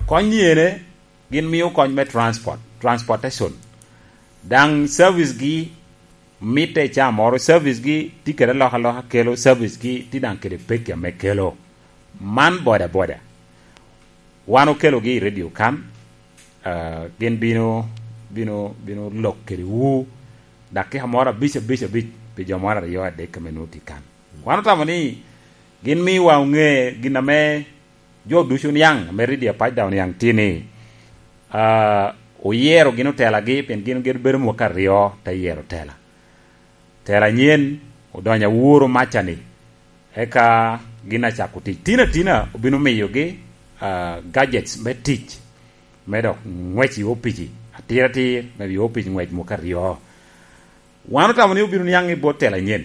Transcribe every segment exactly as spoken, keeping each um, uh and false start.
Kony ni ene, gin mio kony me transport, transportation. Daŋ service gi mitte i caa moro, service gi tye kede alokaloka, kelo service gi tye daŋ kede pekki ame kelo. Man boda boda. Wan okelogi i radio kan, ah, gin bino, bino, bino lok kede wu, dakika moro abic, abic, abic, pi jo moro aryo adek ame nwoŋo tye kan. Wan otamo ni gin miwa oŋe gin ame jo ducu oniaŋ, ame radio apac daŋ oniaŋ tye ni, ah, oyero gin otelagi, pien gin, gin bedo mwaka aryo te yero tela. Tela anyen odonyo aworo maca-ni, eka gin acako tic. Tin atina obino miyogi, ah, gadgets me tic, me dok ngwec i opici, atir atir, me i opic ngwec mwaka aryo. Wan otamo ni obino niaŋ i bot tela anyen.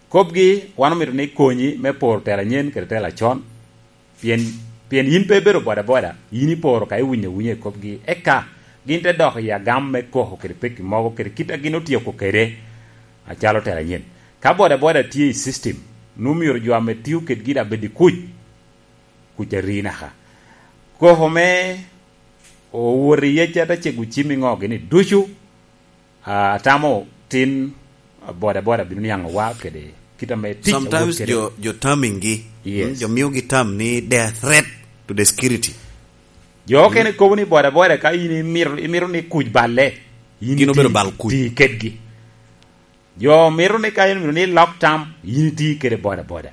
Kobgi, wan omito ni konyi me poro tela anyen kede tela acon, pien, pien yin pe ibedo bodaboda, yin iporo ka iwinyo awunya i kobgi, eka gin te dok i agam me koko kede pekki mogo kede kit a gin otyeko kede acalo tela anyen. Ka bodaboda tye i system, nwoŋo myero jo ame tio kedgi daŋ bed i kuc, kuc a ri naka. Koko me owot i yec ata cego cim i ŋo gini ducu, ah, atamo tin, ah, bodaboda bino niaŋ owa kede kit ame tic awot Sometimes kede. jo, jo terming gi, Yes. mm, jo mio gi term ni they are threat to the security. Jo okene kobo ni bodaboda ka in imito, imito ni kuc balle, in Gin obedo iti, bal kuc. iti kedgi. Jo mito ni ka in omito ni lok tam, in iti kede bodaboda.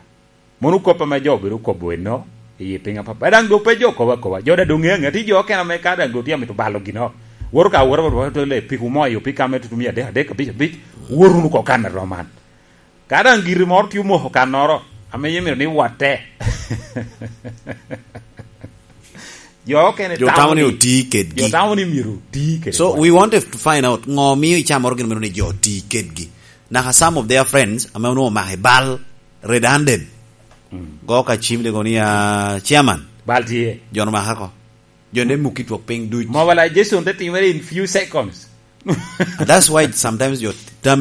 Mono kop ame jo obedo kobo eno, i piny apapa. Daŋ doŋ pe jo kobo akoba. Jo daŋ doŋ ŋeo aŋea. Tye jo okene ame ka daŋ doŋ tye amito balo gino, woto ka woto, woto, woto, le piko mo ayo pika ame tutumia adek, adek, abic, abic, wot wunu oko kan a rom man. Ka daŋ giri moro tye omoko kannoro, ame yam myero ni watte. Jo okene Jo tamo tamo ni ni, oti kedgi. jo tamo ni myero oti kede So, bot. we wanted to find out ŋo mio icamoro gin meno ni jo oti kedgi. Naka some of their friends, ame onwoŋo omako i bal, redundant. Mm. Go ka cim de go ni, ah, chairman. Bal tye. Jo no maka ko. Jo ne muki twok piny duc. Mobilization te timere in few seconds. That's why sometimes jo,